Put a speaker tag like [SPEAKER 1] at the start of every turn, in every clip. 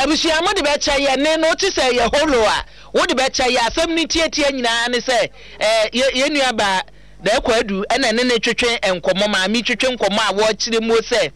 [SPEAKER 1] Abusua mo de bɛkyɛ yɛ ne no te sɛ yɛ holo a wo de bɛkyɛ yɛ asɛm no tiatia nyinaa ne sɛ eh, yɛ yɛ nua baa Daako Adu ɛna ne ne twetwe nkɔmmɔ maame twetwe nkɔmmɔ a wɔkyerɛ muo sɛ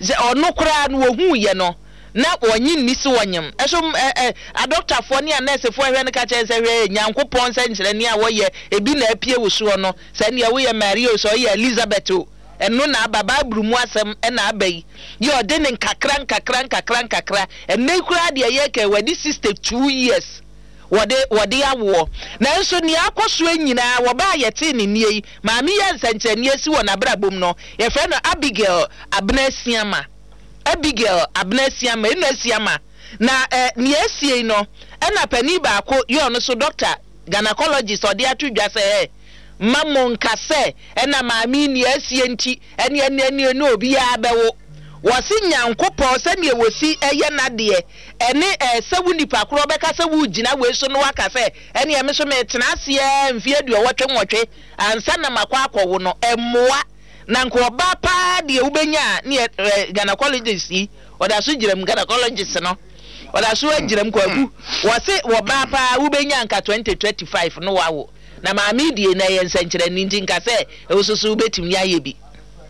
[SPEAKER 1] sɛ ɔno koraa no wɔhuu yɛ no na wɔnye nni se wɔnyem ɛso ɛ ɛ adɔktafoɔ ne anɛɛsefoɔ ɛhwɛ no ka kyerɛ sɛ hwɛ Nyankopɔn nsɛnkyerɛnne a wɔyɛ ebi na apue wo soɔ no sɛ neɛ woyɛ Maria o sɛ ɔyɛ Elizabeth o Ɛno na aba, Bible mu asɛm na aba yi. Yɛ ɔde no nkakra nkakra nkakra nkakra. Ɛnnɛ yi koraa deɛ yɛreka yi, wadi 62 years wɔde wɔde awoɔ. Nanso nea akɔ soɔ nyinaa, wɔbaa a yɛtee ne nnie yi, maame yi a nsɛnkyerɛnneɛ asi wɔ n'abrabɔ mu no, yɛfrɛ no Abigail Abena Asiamah. Abigail Abena Asiamah, Eno Asiamah. Na eh, nea asie yi no, ɛna panin baako yɛ ɔno nso doctor, gynecologist, ɔde ato dwa sɛ, eh, Mma monnka sɛ, 'Ɛna maame yi nea asie nti, ɛne ɛne ɛne ɛne obiara bɛwo. Wɔse Nyankopɔn sɛdeɛ wɔsi yɛ n'adeɛ, ɛne ɛɛ sɛ wo nipa korɔ bɛka sɛ woregyina wei so na woaka sɛ, ɛneɛ me nso metena ase ara mfeɛ aduɔwɔtwe nwɔtwe ansa na makɔ akɔwo no, ɛmmoa. Na nka ɔbaa paa deɛ wobɛnya a ne yɛ ɛɛ gynecologist yi, ɔda so gyina mu, gynecologist no, ɔda so agyina mu, Kwaku. Wɔse ɔbaa paa wobɛnya nka 2035 no wawo. Na maame yi deɛ na ɛyɛ nsɛnkyerɛnne nti nka sɛ wososo wobɛtumi ayɛ bi.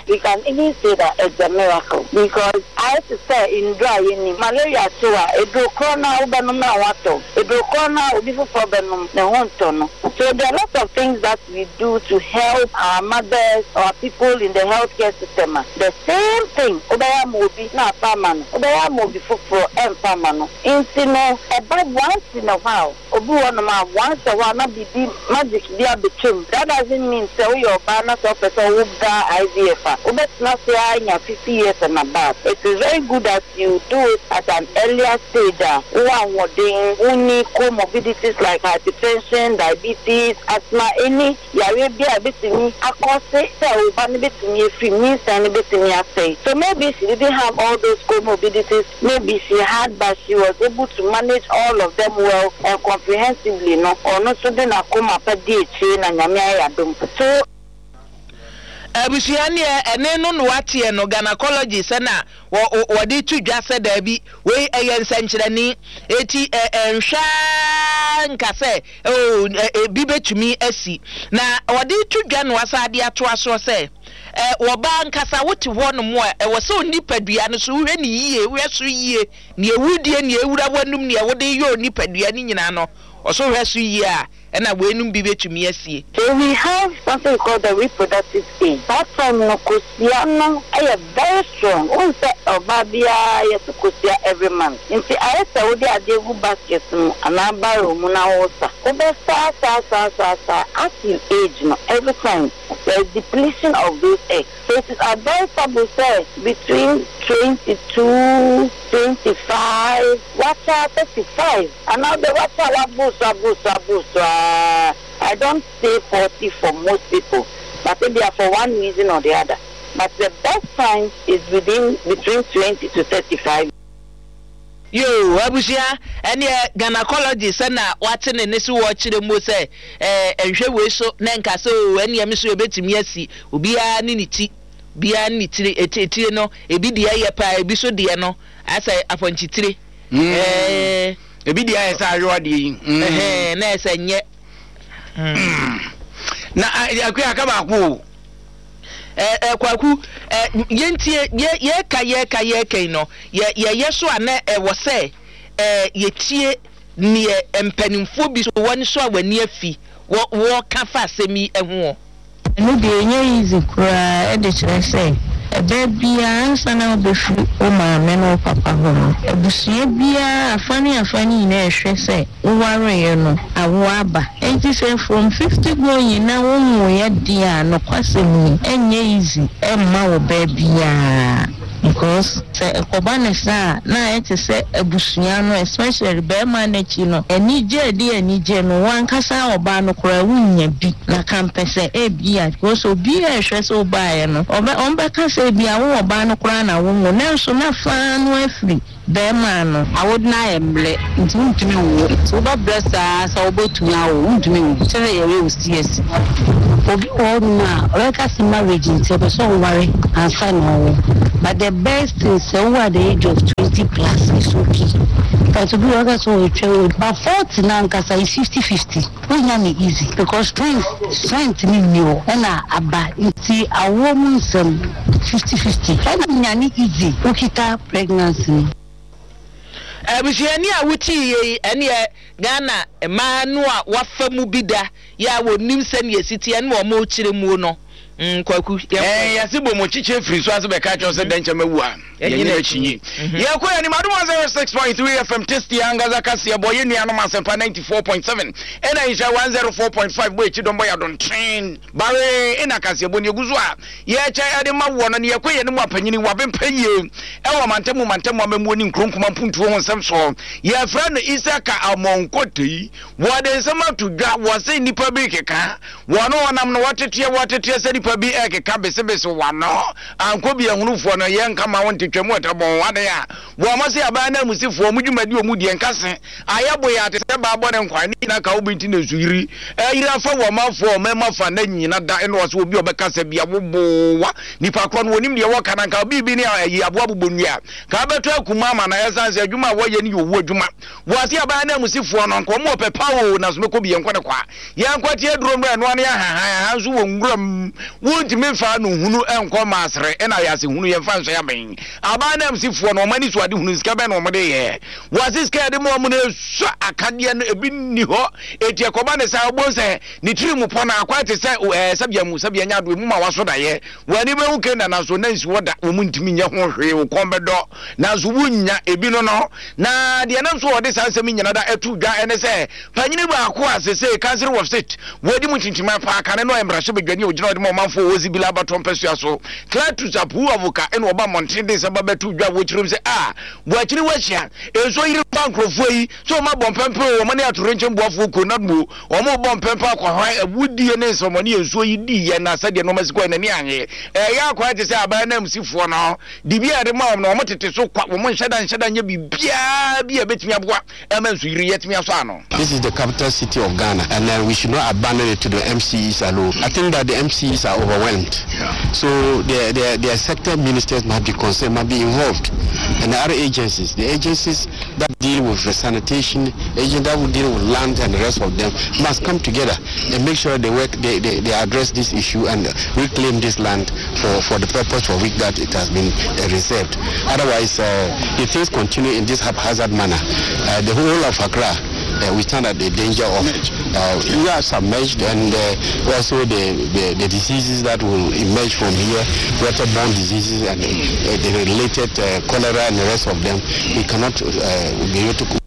[SPEAKER 2] We can even say that it's a miracle because ayɛ te sɛ nnuro a yɛnim. Malaria kye wo a, aduro korɔ no ara wobɛnom na wo ho atɔ wo. Aduro korɔ no ara obi foforɔ bɛnom, ne ho ntɔ no. So there are lots of things that we do to help our mothers, our people in the health care system a, the same thing wobɛyɛ ama obi na afa ama no, wobɛyɛ ama obi foforɔ ɛmfa mma no. Nti no ɛba once in a while. Obi wɔ hɔnom a, once a while na biribi, magic bi abɛtwam. That doesn't mean sɛ woyɛ ɔbaa na sɛ wopɛ sɛ wowo ba IVF a, wobɛtena ase ara anya 50 years and above. It is very good that you do it at an earlier stage a wowɔ ahoɔden, wonni comorbidities like hypertension, diabetes, asthma, any yareɛ bi a ɛbɛtumi akɔse sɛ wo ba no bɛtumi afiri mu, nyinsɛn no bɛtumi asɛe. So maybe she didn't have all those comorbidities, maybe she had but she was able to manage all of them well and comprehensively no, ɔno nso de n'akoma pa di akyire na Nyame ayɛ adom. So.
[SPEAKER 1] Abusua neɛ ɛne no na wateɛ no gynecology sɛ na wɔ wɔde to dwa sɛ daabi wei ɛyɛ nsɛnkyerɛnne eti ɛ ɛnhwɛ ara nka sɛ oo ebi bɛtumi asi na wɔde to dwa na wasan de atoa soɔ sɛ ɛ wɔbaa nkasa wote hɔ nom a ɛwɔ sɛ onipadua no so wohwɛ ne yie wohwɛ so yie nea wodie nea ewura w'anum nea wode yɛ onipadua no nyinaa no ɔso hwɛ so yie a ɛna weinom bi bɛtumi asie.
[SPEAKER 2] So we have something called the reproductive age, saa time no kosua no yɛ very strong, wohu sɛ ɔbaa biara yɛto kosua every month, nti ayɛ sɛ wode adeɛ gu basket mu anaa barrel mu na wosa, wobɛsa saa saa saa saa as you age no every time there is depletion of those eggs, so it is advisable sɛ between 22, 25, wakyɛ a 35 anaa wode wakyɛ a waboro so aboro so aboro so aa, I don't say 40 for most people but ebia for one reason or the other but the best time is within between 20 to 35.
[SPEAKER 1] Yoo abusua ɛneɛ gynecology sɛ na wate ne ne so wɔkyerɛ muo sɛ ɛɛ nhwɛ wei so na nka sɛ oo ɛneɛ me so ɛbɛtumi asi obiara ne ne ti obiara ne ne tiri etire no ebi deɛ yɛ paa ebi so deɛ no asɛ apɔnkyetire ɛɛ.
[SPEAKER 3] Ebi deɛ ayɛ sɛ ayowa deɛ yi.
[SPEAKER 1] Ɛhɛn na ɛsɛ nyɛ.
[SPEAKER 3] Na akua aka baako o.
[SPEAKER 1] Ɛ Kwaku ɛ yɛntie yɛ yɛka yɛka yɛka yi no yɛ yɛyɛ so a na ɛwɔ sɛ ɛ yɛtie neɛ mpanimfoɔ bi so wɔn so a wɔn ani afi wɔ wɔka fa asɛm yi ho.
[SPEAKER 4] Ɛno deɛ ɛnyɛ easy koraa ɛde kyerɛ sɛ ɛbɛ biara ansa na wobɛfiri wo maame ne wo papa hɔ no abusua biara afa ne afa no nyinaa ɛhwɛ sɛ wowareeɛ no awoɔ aba ɛnti sɛ from 50 going na wonwoeɛ deɛ a nokwasɛm ni ɛnyɛ easy ɛmma wo bɛ biara. Because sɛ ɛkɔba no saa a, na ayɛ te sɛ abusua no especially barima no akyi no, anigye a ɛde anigye no, wo ankasa ɔbaa no koraa wonnya bi. Na kampɛ sɛ ebia, because obiara rehwɛ sɛ wobaeɛ no, ɔbɛ wɔbɛka sɛ ebia wo ɔbaa no koraa na wonwo, nanso na faa no afiri barima no.
[SPEAKER 5] Awode no ayɛ mmerɛ nti wontumi nwo. Nti wobɛbrɛ saa sɛ wobɛtumi awo, wontumi nwo. Kyerɛ sɛ yɛyɛ wo CS. Obi wɔ hɔnom a ɔbɛka sɛ marriage nti ɔpɛ sɛ ɔware ansa na ɔwo but the best thing sɛ wowɔ at the age of 20 plus is okay but obi wɔ hɔ ɔka sɛ ɔretwɛn but 40 no ankasa is 50 50 wonya no easy because strength strength no nni hɔ ɛna aba nti awoɔ mu nsɛm 50 50 ɛna nya no easy wokita pregnancy no.
[SPEAKER 1] Abusuani a wotii yei ɛneɛ Ghana mmaa no a wafa mu bi da yɛ a wɔnim sɛdeɛ ɛsi teɛ ne wɔn rekyerɛ muo no mm, Kwaku yɛnkɔ.
[SPEAKER 3] Ɛɛ yɛse bɔ mu kyekyɛ firi so ase bɛka kyerɛ sɛ dɛnkyɛm awu a yɛnyɛ n'akyinyi. Yɛkɔ yɛn anim Adom 106.3 FM Tasty ankasa kaseɛ bɔ yɛn nuanom Asɛmpa 94.7 ɛna Nhyira 104.5 bɔ akyi dɔm bɔ yɛ adonten bare ɛna kaseɛ bɔ ne egu so a yɛkyɛ ɛde ma woɔ no ne yɛkɔ yɛn anim apanyini wabempa yie ɛwɔ mantamu mantamu amammuo ne nkuro nkuma mpuntuo ho nsɛm soɔ yɛfrɛ no Isaka Amonkotei Wɔde nsɛm ato dwa, wɔse nnipa bi rekeka, wɔn a wɔnam no wɔteteɛ, wɔteteɛ sɛ nnipa bi rekeka besebese w'ano, ankɔ bi ahunufoɔ no, yɛnka ma wo nte twam wɔta bɔn adan a, wɔn se aban ananmusifoɔ, wɔn dwumadi wɔn die nka se, ayɛ boyaa te sɛ baa bɔne nkwan, ne nyina ka wo bi nti na nsuyiri ayiri afa wɔ ɔmanfoɔ ɔman afa na nyina da, ɛna ɔse obi a ɔbɛka sɛ bia wo boa nipa korɔ no wɔnim deɛ wɔka na nka biribi ne ayi aboa bobɔ nnua ka bɛtɔ akuma ama na ɛsan sɛ adwuma a wɔyɛ no yɛ owu adwuma. Boase aban ananmusifoɔ no, anka wɔn wɔ pɛ pa oo, nanso mɛkɔ bi, yɛnkɔ ne kwa. Yɛnkɔ te aduro mmra ɛnoa ne ahahan, aha nso wɔ nwura mu. Wontumi mfa ano hunu nkɔ Masere, ɛna ayase hunu, yɛmfa nsɔe abɛn. Aban ananmusifoɔ no, wɔn ani so ade hunu, sika bɛn na wɔn de yɛ? Boase sika a yɛde ma wɔn no ɛsua akadeɛ no, ebi nni hɔ. Eti ɛkɔba ne saa, wobɛhu sɛ ne tiri mu pɔ no akwan te sɛ ɛɛ sɛbea mu, sɛbea nyɛ adoe mu ma waso daeɛ. Wɔn ani bɛhu Kanaan nanso na nsi hɔ da, wɔn ntumi nyɛ ho hwee, wo kɔn bɛdɔ. Nanso wonnya ebi no no. Na deɛ ɛnam so a wɔde saa nsɛm yi nyina da to dwa ne sɛ, panyini baako a sesei Council of State wɔadi mu ntintiman paa kane no a mmarahyɛbadwani a ɔgyina hɔ de ma ɔmanfoɔ wɔ Zibila abatoɔ mpasua so, Cletus Apu Avoka na ɔba mmɔnten de nsɛm ba bɛto dwa wɔ kyerɛm sɛ a wɔakyini wɔahyia nsuo yiri ba nkurɔfoɔ yi sɛ wɔn abɔ mpɛmpɛ o wɔn ne atorenkyɛm boafoɔ kuo NADMO wɔn rebɔ mpɛmpɛ akɔhwan awudie ne nsɛmmɔne yɛ nsuo yi diiɛ na sɛdeɛ nneɛma si kɔɛ n'ani anye ɛyɛ akwan te sɛ aban ananmusifoɔ no Dibea a yɛde ma wɔn no, wɔtete so kwa, wɔnhyɛ da nhyɛ da nyɛ biribiara bi a ebetumi aboa ma nsuyiri yi atumi asɔ ano.
[SPEAKER 6] This is the capital city of Ghana and uh, we should not abandon it to the MCEs alone. I think that the MCEs are overwhelmed. Yeah. So their, their, their sector ministers must be concerned, must be involved. And the other agencies, the agencies that deal with the sanitation, agents that will deal with land and the rest of them must come together and make sure they work, they, they, they address this issue and reclaim this land for, for the purpose for which that it has been uh, reserved. Otherwise, uh, if things continue in this haphazard manner, uh, the whole of Accra, uh, we stand at the danger of uh, we are submerged and uh, also the, the, the diseases that will emerge from here, waterborne diseases and the related cholera and the rest of them, we cannot be able to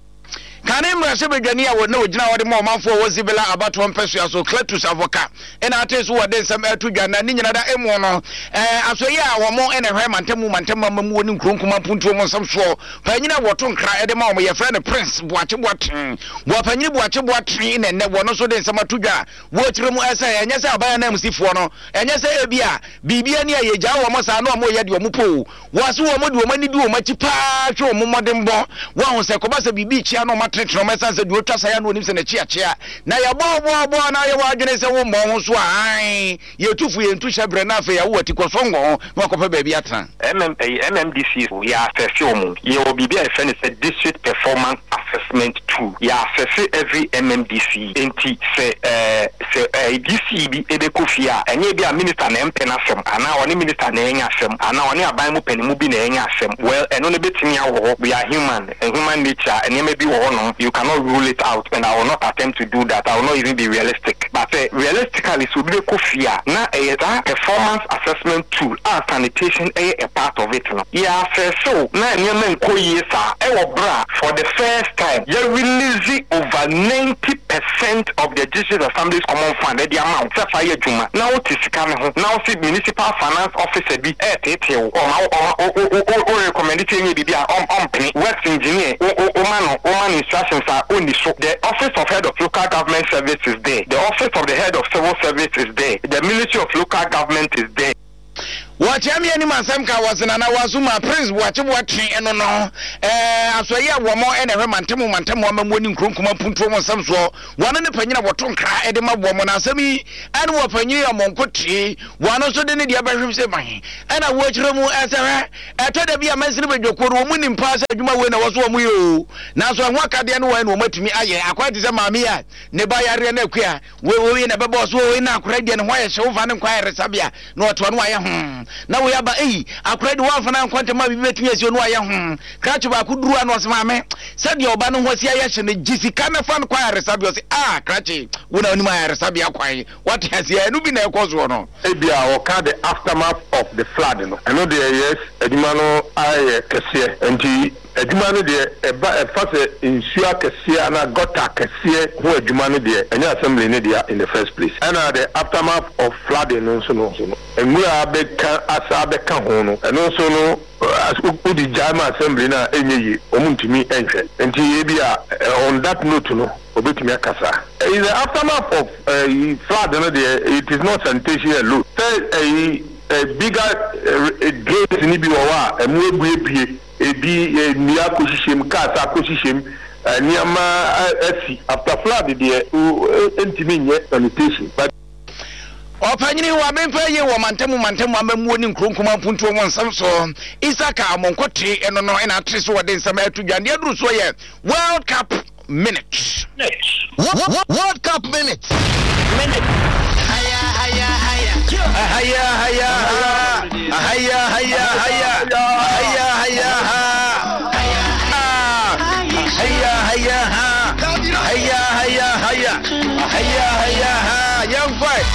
[SPEAKER 3] Kane mmarahyɛbadwani a na ɔgyina hɔ de ma ɔmanfoɔ wɔ Zibila abatoɔ mpɛsoa so, Cletus Avoka, na atee so wɔde nsɛm ɛreto dwa na ne nyina da emu no, asoɛeɛ a wɔn na ɛhwɛ mantamu mantamu amammuo ne nkuro nkuma mpuntuo mu nsɛm soɔ panyin a wɔto nkra de ma wɔn yɛfrɛ no Prince Boakye Boateng. Boapanyini Boakye Boateng na ɛnnɛ wɔn nso de nsɛm ato dwa a wɔkyerɛ mu sɛ ɛnyɛ sɛ aban ananmusifoɔ no ɛnyɛ sɛ ebia biribi ani a yɛgyaa wɔn saa na wɔyɛ deɛ wɔn pɛ o. Wɔase wɔn de wɔn ani di wɔn akyi paa hwɛ wɔn mmɔdenbɔ. Wɔahu sɛ ɛkɔba sɛ biribi rekyea na wɔatenetene wɔn ɛsiane sɛ deɛ ɔtwa sae a na ɔnim sɛ n'akyi akyea. Na yɛbɔ wo boaboa na ayɛ w'adwene sɛ wommɔ wo ho so a, aane, yɛtu fo yɛntu hyɛberɛ na afei awo w'ati kɔ so ngɔ ho na wakɔpɛ baabi atena.
[SPEAKER 7] MM ɛyi MMDCs yɛ assess wɔn. Yɛwɔ biribi a yɛfrɛ no sɛ District Performance Assessment Tool. Yɛ assess every MMDC. Enti sɛ ɛɛ sɛ ɛɛ DC bi bɛkɔ fie a, ɛnyɛ ebi a minister na ɛmpɛ n'asɛm anaa ɔne minister na ɛrenya asɛm anaa ɔne aban mu panimu bi na ɛrenya asɛm. Well, ɛno no bɛtumi awɔ hɔ. We are human, human nature, nneɛma bi wɔ hɔnom, you cannot rule it out and I will not attempt to do that, I will not even be realistic. But sɛ realistically sɛ obi bɛkɔ fie a, na ɛyɛ saa performance assessment tool a sanitation yɛ a part of it no, yɛ assess wo na nneɛma nkɔ yie saa ɛwɔ berɛ a for the first time yɛ release over 90 percent of the District Assemblies Common Fund de ama wo sɛ fa yɛ adwuma na wote sika no ho na wose Municipal Finance Officer bi reteetee wo, ɔma wo ɔma wo wo wo wo recommend sɛ nyɛ biribi a ɔm ɔmpene, Works Engineer wo wo woma no woma no instructions a ɔnni so, the Office of Head of Local Government Service is there, the Office of the Head of Civil Service is there, the Ministry of Local Government is there.
[SPEAKER 3] Wɔkyea me anim asɛm ka wɔse Nana Waso ma Prince Boakye Boatwe ɛno no ɛɛ asoɛeɛ a wɔn ɛna ɛhwɛ mantam mantam amammuo ne nkuro nkuma mpuntuo ho nsɛm soɔ wɔn ne panyin a wɔto nkra ɛde ma wɔn na asɛm yi ɛne wɔ panyin a wɔn tee wɔn nso de ne deɛ bɛhwem sɛ man ɛna wɔakyerɛ mu ɛsɛ hwɛ ɛtɔ da bi a mansini badwakuo no wɔn nim paa sɛ adwuma wei na wɔ so wɔn yɛ o nanso ɛho akadeɛ no wɔn na wɔn atumi ayɛ akwan te sɛ maame a ne ba yareɛ no akua Wei wei na ɛbɛbɔ so wei na akora deɛ ne ho ayɛ hye wofa ne nkɔ ayaresabea na ɔte ɔno ayɛ ho na wei aba ei akora deɛ wɔamfa no ankɔ ntɛm a biribi bɛtumi asi ɔno ayɛ ho krakye baako duru a na ɔse maame sɛdeɛ ɔba no ho asi ayɛ hye no gye sika na fa no kɔ ayaresabea ɔse ah krakye wo na wonim ayaresabea kwan wate aseɛ ɛno bi na ɛkɔ soɔ no.
[SPEAKER 8] Ebia wɔka the aftermath of the flood no, ɛno deɛ yes, adwuma no ayɛ kɛseɛ nti Adwuma no deɛ ɛba ɛfa sɛ nsuo akɛseɛ anaa gutter akɛseɛ ho adwuma no deɛ ɛnyɛ assembly no dea in the first place. Ɛna the aftermath of flooding no nso no nwura abɛka asa abɛka ho no ɛno nso no wode gyae ma assembly no a ɛnyɛ yie wɔn ntumi nhwɛ nti ebia on that note no obetumi aka saa. In the aftermath of ɛyi flood no deɛ it is not sanitation alone sɛ ɛyi bigger drains no bi wɔ hɔ a ɛmu abuebue. Ebi nnua akɔhyehyɛ mu, cars akɔhyehyɛ mu, nneɛma asi. After flood deɛ ntumi nyɛ sanitation but.
[SPEAKER 3] Ɔpanyini wɔ Abenfɛ yie wɔ mantamu mantamu amammuo ne nkuro nkumaa mpuntuo ho nsɛm so. Isaka Amonkote ɛno no ɛna atere so wɔde nsɛm ɛto dwa. Deɛ aduru soɔ yɛ World Cup Minute.
[SPEAKER 9] World Cup Minute.
[SPEAKER 3] Haya haya haya haya haya haya.